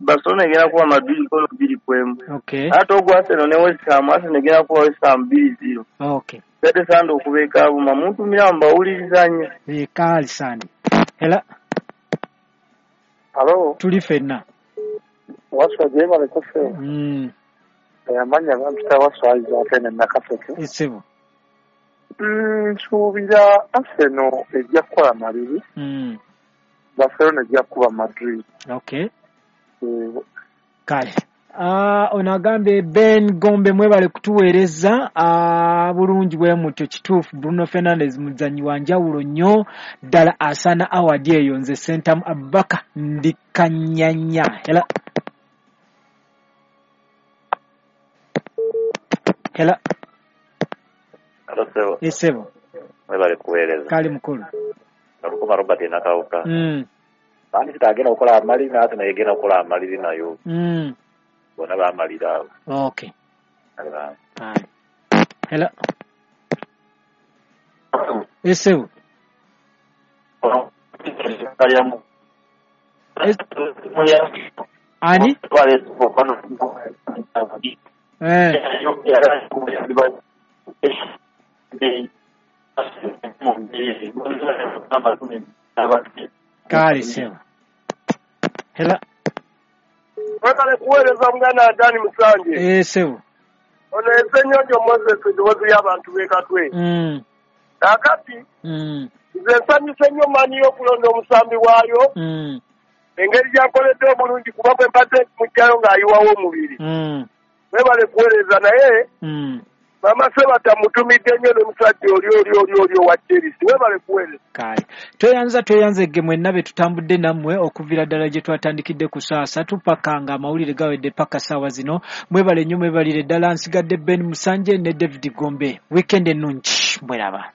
Barcelona egenda kuba Madrid golo 2-1. Okay. Ate ogwa Arsenal ne West Ham, Arsenal egenda kuba West Ham 2-0. Okay. Sete Sande okuva e Kaabuma, muntumira mbawuliriza nnyo. Kaali Sande. Hela. Alo. Tuli ffenna. Waswa gyebaleko ffe. Amannya bampita Waswa Isaac eno Nakaseke. Essebo. Nsuubira Arsenal ejja kukola maliri. Barcelona ejja kukuba Madrid. Okay. Kale. Ono agambye Ben Gombe mwebale kutuweereza bulungi bwe mutyo. Kituufu Bruno Fernandes muzannyi wa njawulo nnyo ddala, asaana award eyo. Nze Sentamu Abubakar ndi Kanyanya. Hela. Hela. Esebo. Mwebale kuweereza. Kale mukulu. Nalukoma Robert Nakawuka. Bandi kitagenda okukola amaliri n'ate naye egenda okukola amaliri nayo. Bonna bamalira awo. Okay. Hello. Esebo. Ani? Kale sebo. Hello. Mwebale kuweereza muganda Dani Musanje. Sebo. Ono Ssenyonjo Moses eddoboozi ly'abantu b'e Katwe. Kaakati nze nsanyuse nnyo maanyi y'okulonda omusambi waayo. Engeri gy'akoledde obulungi kuba bwe mbadde muggyayo ng'ayiwawo omubiri. Mwebale kuweereza naye Mama Sebata mutumidde nnyo n'omusajja oli oli owa Chelsea. Mwebale kuweereza. Kale. Tweyanze mwenna be tutambudde nammwe okuviira ddala gye twatandikidde ku ssaawa 3 paka nga amawulire gawedde paka ssaawa zino. Mwebale nnyo, mwebalire ddala. Nsigadde Ben Musanje ne David Gombe. Weekend ennungi, mweraba.